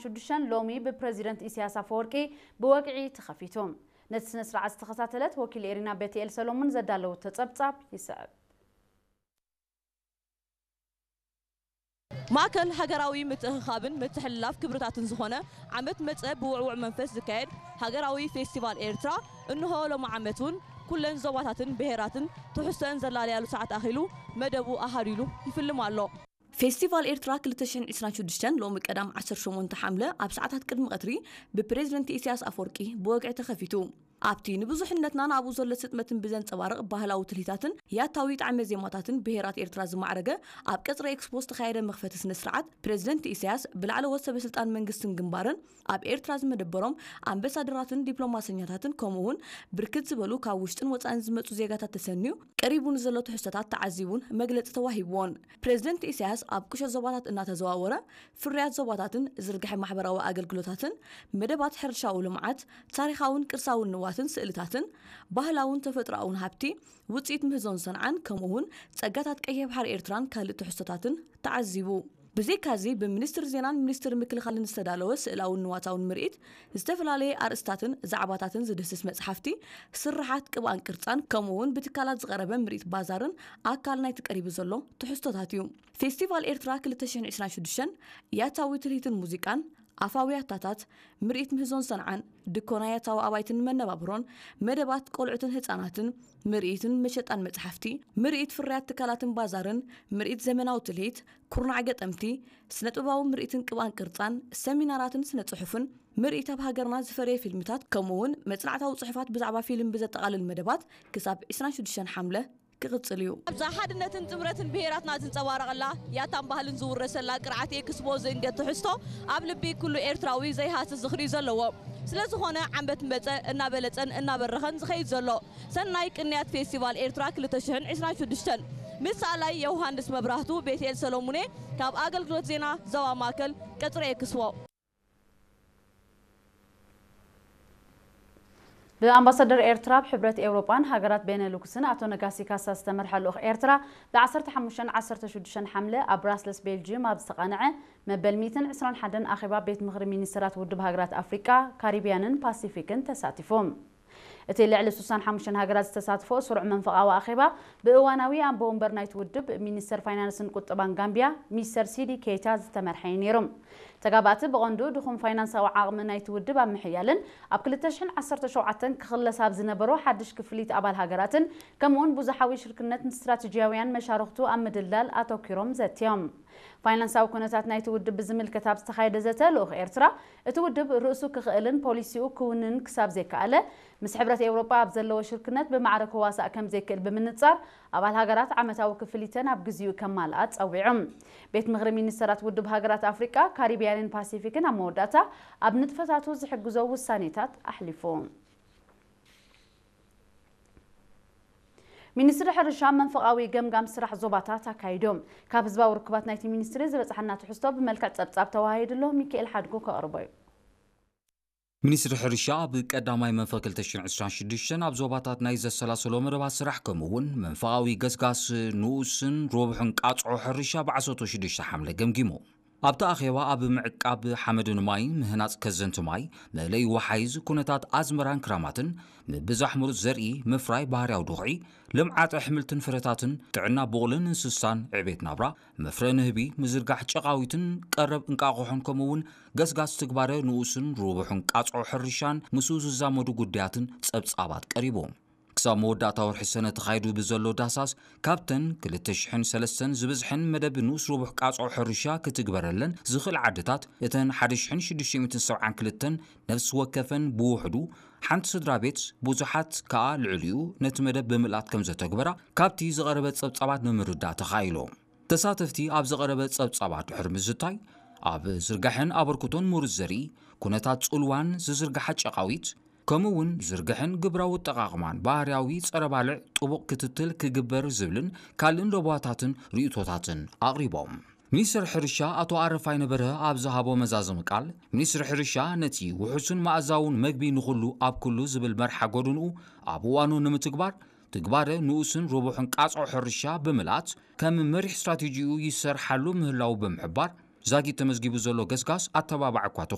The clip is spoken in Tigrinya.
ሽዱሽተን ሎሚ ብፕረዚደንት ኢሳያስ ኣፈወርቂ ብወግዒ ተኸፊቱ። ነቲ ስነ ስርዓት ዝተኸታተለት ወኪል ኤሪና ቤትኤል ሰሎሙን ዘዳለወቶ ጸብጻብ ይስዕብ። ማእከል ሃገራዊ ምትእኽኻብን ምትሕልላፍ ክብርታትን ዝኾነ ዓመት መጸ ብውዕውዕ መንፈስ ዝካየድ ሃገራዊ ፌስቲቫል ኤርትራ እንሆ ሎሚ ዓመት እውን ኩለን ዞባታትን ብሄራትን ትሕዝቶአን ዘላለያሉ ሰዓት ኣኺሉ መደቡ ኣሃዲሉ ይፍልም ኣሎ። ፌስቲቫል ኤርትራ ክልተ ሽሕን ዕስራን ሽዱሽተን ሎሚ ቀዳም ዓሰርተ ሸሞንተ ሓምለ ኣብ ሰዓታት ቅድሚ ቀትሪ ብፕሬዝደንት ኢሳያስ ኣፈወርቂ ብወግዒ ተኸፊቱ። ኣብቲ ንብዙሕነትና ናብኡ ዘሎ ስጥመትን ብዘንጸባርቕ ባህላዊ ትልሂታትን ያታዊ ጣዕመ ዜማታትን ብሄራት ኤርትራ ዝማዕረገ ኣብ ቀጽሪ ኤክስፖ ዝተኻየደ መኽፈቲ ስነ ስርዓት ፕሬዝደንት ኢሳያስ ብላዕለዎት ሰበ ስልጣን መንግስትን ግንባርን ኣብ ኤርትራ ዝመደበሮም ኣምበሳደራትን ዲፕሎማሰኛታትን ከምኡ እውን ብርክት ዝበሉ ካብ ውሽጥን ወጻእን ዝመጹ ዜጋታት ተሰንዩ ቀሪቡ ንዘሎ ትሕዝቶታት ተዓዚቡን መግለጺ ተዋሂብዎን። ፕሬዝደንት ኢሳያስ ኣብ ቁሸት ዞባታት እናተዘዋወረ ፍርያት ዞባታትን ዝርግሐ ማሕበራዊ ኣገልግሎታትን መደባት ሕርሻዊ ልምዓት ታሪኻውን ቅርሳውን ንዋትን ስእልታትን ባህላውን ተፈጥሮኣውን ሃብቲ ውፅኢት ምህዞን ሰንዓን ከምኡ እውን ፀጋታት ቀይሕ ባሕሪ ኤርትራን ካልእ ትሕዝቶታትን ተዓዚቡ። ብዘይካዚ ብሚኒስትር ዜናን ሚኒስትር ምክልኻልን ዝተዳለወ ስእላውን ንዋታውን ምርኢት ዝተፈላለየ ኣርእስታትን ዛዕባታትን ዝድህስስ መፅሓፍቲ ስርሓት ቅብኣን ቅርፃን ከምኡ እውን ብትካላት ዝቐረበ ምርኢት ባዛርን ኣካል ናይቲ ቀሪቡ ዘሎ ትሕዝቶታት እዩ። ፌስቲቫል ኤርትራ ክልተ ሽሕን ዕስራን ሽዱሽተን ያታዊ ትልሂትን ሙዚቃን ኣፋዊ ያታታት ምርኢት ምህዞን ሰንዓን ድኮና ያታዊ ኣባይትን መነባብሮን መደባት ቆልዑትን ህፃናትን ምርኢትን መሸጣን መፅሓፍቲ ምርኢት ፍርያት ትካላትን ባዛርን ምርኢት ዘመናዊ ትልሂት ኩርናዕ ገጠምቲ ስነጥበባዊ ምርኢትን ቅብኣን ቅርፃን ሰሚናራትን ስነ ፅሑፍን ምርኢት ኣብ ሃገርና ዝፈረየ ፊልምታት ከምኡ እውን መፅናዕታዊ ፅሑፋት ብዛዕባ ፊልም ብዘጠቓልል መደባት ክሳብ ዕስራን ሽዱሽተን ሓምለ ክቕጽል እዩ። ኣብዛ ሓድነትን ጥምረትን ብሄራትና ዝንጸባረቐላ ያታን ባህልን ዝውረሰላ ቅርዓት ኤክስፖ ዝእንገት ትሕዝቶ ኣብ ልቢ ኩሉ ኤርትራዊ ዘይሃስስ ዝኽሪ እዩ ዘለዎ። ስለ ዝኾነ ዓመት መጸ እናበለጸን እናበረኸን ዝኸይድ ዘሎ ሰናይ ቅንያት ፌስቲቫል ኤርትራ ክልተ ሽሕን ዕስራን ሽዱሽተን ምስ ሰኣላይ ዮሃንስ መብራህቱ ቤትኤል ሰሎሙኔ ካብ ኣገልግሎት ዜና ዞባ ማእከል ቀጽሪ ኤክስፖ። ብኣምባሳደር ኤርትራ ኣብ ሕብረት ኤውሮጳን ሃገራት ቤነሉክስን ኣቶ ነጋሲ ካሳ ዝተመርሐ ልኡኽ ኤርትራ ብ ዓሰርተ ሓሙሽተን ዓሰርተ ሽዱሽተን ሓምለ ኣብ ብራስለስ ቤልጅየም ኣብ ዝተቓንዐ መበል ሚእትን ዕስራን ሓደን ኣኼባ ቤት ምኽሪ ሚኒስተራት ውድብ ሃገራት ኣፍሪቃ፣ ካሪብያንን ፓሲፊክን ተሳቲፉ። እቲ ልዕሊ ስሳን ሓሙሽተን ሃገራት ዝተሳትፎ ስሩዕ መንፈቓዊ ኣኼባ ብእዋናዊ ኣቦ ወንበር ናይቲ ውድብ ሚኒስተር ፋይናንስን ቁጠባን ጋምቢያ ሚስተር ሲዲ ኬይታ ዝተመርሐ እዩ ነይሩ። ተጋባእቲ ብቐንዱ ድኹም ፋይናንሳዊ ዓቕሚ ናይቲ ውድብ ኣብ ምሕያልን ኣብ ክልተ ሽሕን ዓሰርተ ሸውዓተን ክኽለስ ኣብ ዝነበሮ ሓድሽ ክፍሊት ኣባል ሃገራትን ከምኡውን ብዙሓዊ ሽርክነት ንስትራቴጂያውያን መሻርኽቱ ኣብ ምድልዳል ኣተኲሮም ዘትዮም። ፋይናንሳዊ ኩነታት ናይቲ ውድብ ብዝምልከት ኣብ ዝተኻየደ ዘተ ልኡኽ ኤርትራ እቲ ውድብ ርእሱ ክኽእልን ፖሊሲኡ ክውንን ክሳብ ዘይከኣለ ምስ ሕብረት ኤውሮጳ ኣብ ዘለዎ ሽርክነት ብማዕረ ክዋሳእ ከም ዘይክእል ብምንጻር ኣባል ሃገራት ዓመታዊ ክፍሊተን ኣብ ግዚኡ ከማልኣ ጸዊዑ። ቤት ምኽሪ ሚኒስተራት ውድብ ሃገራት ኣፍሪቃ፣ ካሪብያንን ፓሲፊክን ኣብ መወዳእታ ኣብ ንጥፈታቱ ዝሕግዞ ውሳኔታት ኣሕሊፉ። ሚኒስትሪ ሕርሻ መንፈቓዊ ገምጋም ስራሕ ዞባታት ኣካይዱ። ካብ ህዝባዊ ርክባት ናይቲ ሚኒስትሪ ዝበፅሓና ትሕዝቶ ብመልክዕ ፀብፃብ ተዋሂድሎ ሚካኤል ሓድጉ ከቕርቦ እዩ። ሚኒስትሪ ሕርሻ ኣብ ቀዳማይ መንፈ ክልተ ሽሕን ዕስራን ሽዱሽተን ኣብ ዞባታት ናይ ዘሰላሰሎ መደባት ስራሕ ከምኡ እውን መንፈቓዊ ገስጋስ ንኡስን ሮብሕን ቃፅዖ ሕርሻ ብዓሰርተ ሽዱሽተ ሓምለ ገምጊሙ። ኣብቲ ኣኼባ ኣብ ምዕቃብ ሓመድን ማይ፣ ምህናፅ ከዘንቲ ማይ፣ መእለይ ወሓይዝ፣ ኩነታት ኣዝመራን ክራማትን፣ ምብዛሕ ምሩፅ ዘርኢ፣ ምፍራይ ባህርያዊ ድኹዒ፣ ልምዓት ኣሕምልትን ፍረታትን፣ ጥዕና ቡቕልን እንስሳን፣ ዕቤት ናብራ፣ መፍረ ንህቢ፣ ምዝርጋሕ ጨቓዊትን ቀረብ እንቃቑሖን ከምኡ እውን ገስጋስ ትግባረ ንኡስን ርቡሕን ቃጽዖ ሕርሻን ምስኡ ዝዛመዱ ጉዳያትን ጸብጻባት ቀሪቡ። ክሳብ መወዳእታ ወርሒ ሰነ ተኻይዱ ብዘሎ ዳህሳስ ካብተን ክልተ ሽሕን ሰለስተን ዝበዝሐን መደብ ንኡስ ርቡሕ ቃጽዖ ሕርሻ ክትግበረለን ዝኽእል ዓድታት እተን ሓደ ሽሕን ሽዱሽተ ሚእትን ሰብዓን ክልተን ነፍሲ ወከፈን ብውሕዱ ሓንቲ ስድራ ቤት ብዙሓት ከኣ ልዕሊኡ ነቲ መደብ ብምልኣት ከም ዘተግበራ ካብቲ ዝቐረበ ጸብጻባት ንምርዳእ ተኻኢሉ። ተሳተፍቲ ኣብ ዝቐረበ ጸብጻባት ድሕሪ ምዝታይ ኣብ ዝርጋሐን ኣበርክቶን ምሩጽ ዘርኢ፣ ኩነታት ጽልዋን ዝዝርግሓ ጨቓዊት፣ ከምኡ እውን ዝርግሐን ግብራዊ ኣጠቓቕማን ባህርያዊ ጸረ ባልዕ ጥቡቕ ክትትል ክግበር ዝብልን ካልእን ለበዋታትን ርእይቶታትን ኣቕሪቦም። ሚኒስትር ሕርሻ ኣቶ ኣረፋይነ በርሀ ኣብ ዝሃቦ መዛዘሚ ቃል፣ ሚኒስትሪ ሕርሻ ነቲ ውሑስን መኣዛውን መግቢ ንኹሉ ኣብ ኩሉ ዝብል መርሓ ጎድንኡ ኣብ እዋኑ ንምትግባር ትግባረ ንኡስን ርቡሕን ቃጽዖ ሕርሻ ብምልኣት ከም መሪሕ ስትራቴጂኡ ይሰርሓሉ ምህላዉ ብምሕባር፣ ዛጊት ተመዝጊቡ ዘሎ ገስጋስ ኣተባባዕ እኳ